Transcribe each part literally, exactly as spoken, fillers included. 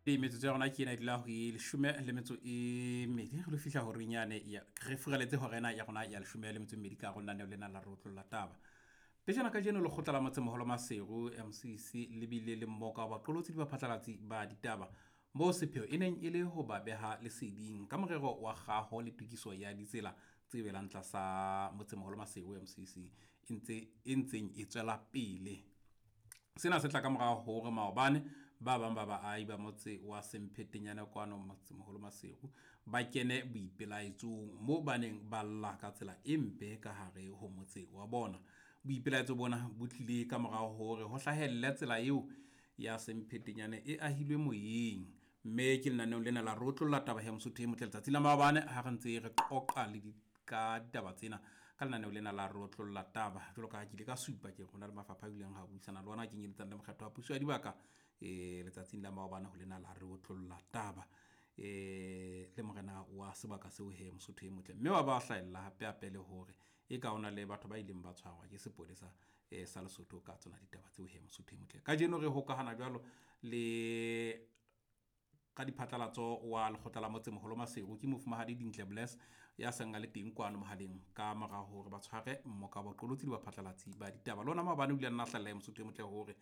Metsotso ya rona ke ena e dula ho e leshome le metso e mmedi, re lo fihla horeng yane ya re furaletse hora ena ya rona ya leshome le metso e mmedi ka hare ho lenaneo lena la re otlolla taba. Pejana kajeno lekgotla la Motsemoholo Maseru M C C le bile le mmoka wa baqolotsi le baphatlalatsi ba ditaba, moo sepheo e neng e le ho ba beha leseding ka morero wa kgaho le tokiso ya ditsela tse welang tlasa Motsemoholo Maseru M C C e ntse e ntseng e tswela pele. Sena se tla ka mora hore maobane ba bang ba baahi ba motse wa Semphetenyane kwano Motsemoholo Maseru ba kene boipelaetsong moo ba neng ba lla ka tsela e mpe ka hare ho motse wa bona. Boipelaetso bona bo tlile ka mora hore ho hlahelle tsela eo ya Semphetenyane e ahilwe moyeng. Mme ke lenaneong lena la re otlolla taba ya Mosotho e motle letsatsi la maobane ha re ntse re qoqa le di ka ditaba tsena ka lenaneo lena la re otlolla taba. Jwalo ka ha ke ile ka supa, ke rona le mafapha a ileng ha buisana le ona, kenyeletsang le mokgatlo wa puso ya dibaka eh letsatsing la maobane ho lena la re otlolla taba eh le morena wa sebaka seo he Mosotho e motle. Mme wa ba hlahella hape hape le hore e ka hona le batho ba ileng ba tshwarwa ke sepolesa eh sa Lesotho ka tsona ditaba tseo he Mosotho e motle. Kajeno re hokahana jwalo le ka diphatlalatso wa lekgotla la Motsemoholo Maseru, ke mofumahadi Dintle Bless ya seng a le teng kwano mohaleng ka mora hore ba tshware mmoka wa baqolotsi le baphatlalatsi ba ditaba. Le ona maobane o ile a nna hlahella ya Mosotho e motle hore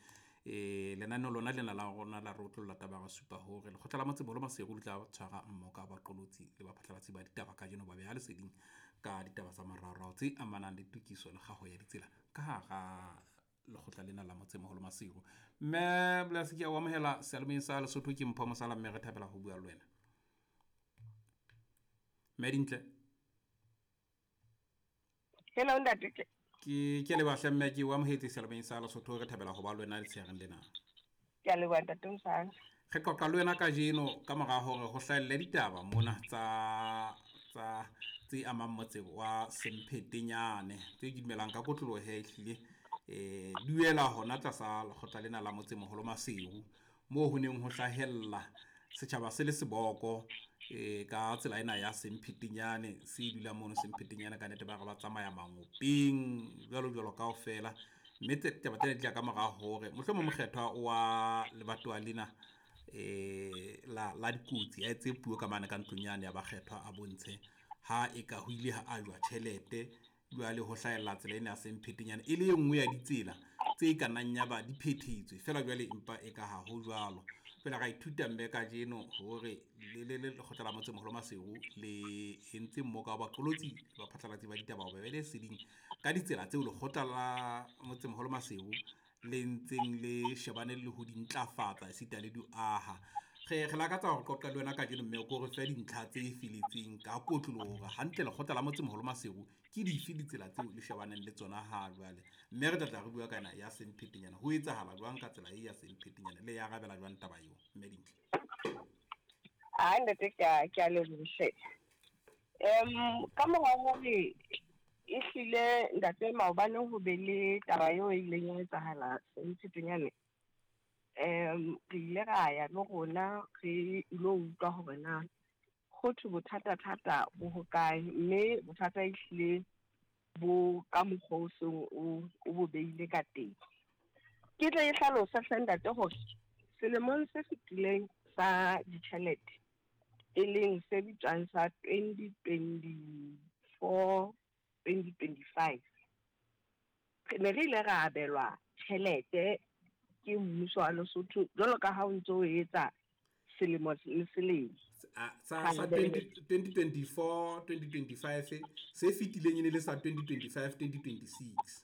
eh lenaneo lona lena la rona la re otlolla taba, ra supa hore lekgotla la Motsemoholo Maseru le tla tshwara mmoka wa baqolotsi le baphatlalatsi ba ditaba kajeno, ba beha leseding ka ditaba tsa moraorao tse amanang le tokiso le kgaho ya ditsela ka hara lekgotla lena la Motsemoholo Maseru. Mme Bless, ke a o amohela seyalemoyeng sa Lesotho. Ke Mpho Mosala, mme re thabela ho bua le wena, mme Dintle. Hello ntate. Ke ke leboha mme, ke o amohetse seyalemoyeng sa Lesotho, re thabela ho ba le wena letshehareng lena. Ke a leboha, ntate Mosala. Re qoqa le wena kajeno ka mora hore ho hlahelle ditaba mona tsa tsa tse amang motse wa Semphetenyane tse ke dumelang ka kotloloho he ehlile eh duela hona tlasa lekgotla lena la Motsemoholo Maseru, moo ho neng ho hlahella setjhaba se le seboko eh ka tsela ena ya Semphetenyane se dulang mono Semphetenyane. Ka nnete ba re ba tsamaya mangopeng jwalo jwalo kaofela, mme taba tsena di tla ka mora hore mohlomong mokgethwa wa lebatowa lena eh la la dikotsi a etse puo ka mane ka ntlong yane ya bakgethwa, a bontshe ha e ka ho ile ha ajwa tjhelete. Jwale ho hlahella tsela ena ya Semphetenyane e le e nngwe ya ditsela tse ka nnang ya ba di phethetswe fela jwale, empa e ka ha ho jwalo. Jwale ra ithuta mme kajeno hore le le lekgotla la Motsemoholo Maseru le entse mmoka wa baqolotsi le baphatlalatsi ba ditaba ho ba behe leseding ka ditsela tseo lekgotla la Motsemoholo Maseru le ntseng le shebane le ho di ntlafatsa esita le di aha. Re re lakatsa hore qoqa le wena kajeno, mme o ko re fe dintlha tse feletseng ka kotloloho hore hantle lekgotla la Motsemoholo Maseru ke dife ditsela tseo le shebaneng le tsona ha jwale, mme re tla tla re bua ka ena ya Semphetenyane. Ho etsahala jwang ka tsela e ya Semphetenyane, le ya arabela jwang taba eo, mme Dintle? Ah ntate, ke a ke a leboha. Em ka mora hore ehlile ntate maobane ho be le taba eo e ileng ya etsahala Semphetenyane, em re ile ra ya le rona re ilo utlwa hore na ho thwe bothata-thata bo hokae, mme bothata ehlile bo ka mokgwa o seng o o bo beile ka teng. Ke tle e hlalose hle ntate hore selemong se fetileng sa ditjhelete, e leng se bitswang sa twenty twenty-four twenty twenty-five, re ne re ile ra abelwa tjhelete ke mmuso wa Lesotho jwalo ka ha o ntso o etsa selemo le selemo. Sa sa twenty twenty-four twenty twenty-five se fetileng e ne le sa twenty twenty-five twenty twenty-six.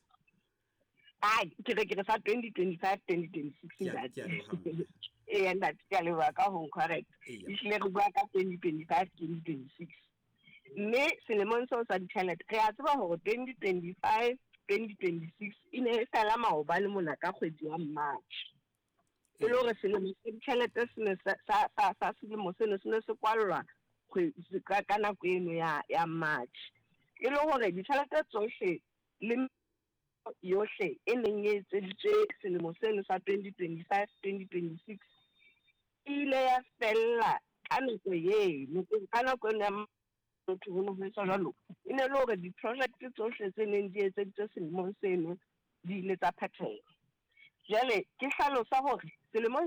Ai, ke re ke re sa twenty twenty-five twenty twenty-six. Ke a- Ntate. Ke a leboha, mme. Eya ntate, ke a leboha ka ho correct. Eya. Ehlile re bua ka twenty twenty-five twenty twenty-six, mme selemong seo sa ditjhelete re a tseba hore twenty twenty-five twenty twenty-six e ne e fela maobane mona ka kgwedi ya March, e le hore selemo sa ditjhelete se ne sa sa sa sa selemo seno se ne se kwallwa kgwe- ka ka nako eno ya ya March, e le hore ditjhelete tsohle le yohle e neng e etseditswe selemo seno sa twenty twenty-five twenty twenty-six e ile ya fella ka nako eno. Ka nako eno ya motho ho ne ho etswa jwalo, e ne le hore di-project tsohle tse neng di etseditswe selemong seno di ile tsa phethelwa. Jwale ke hlalosa hore selemong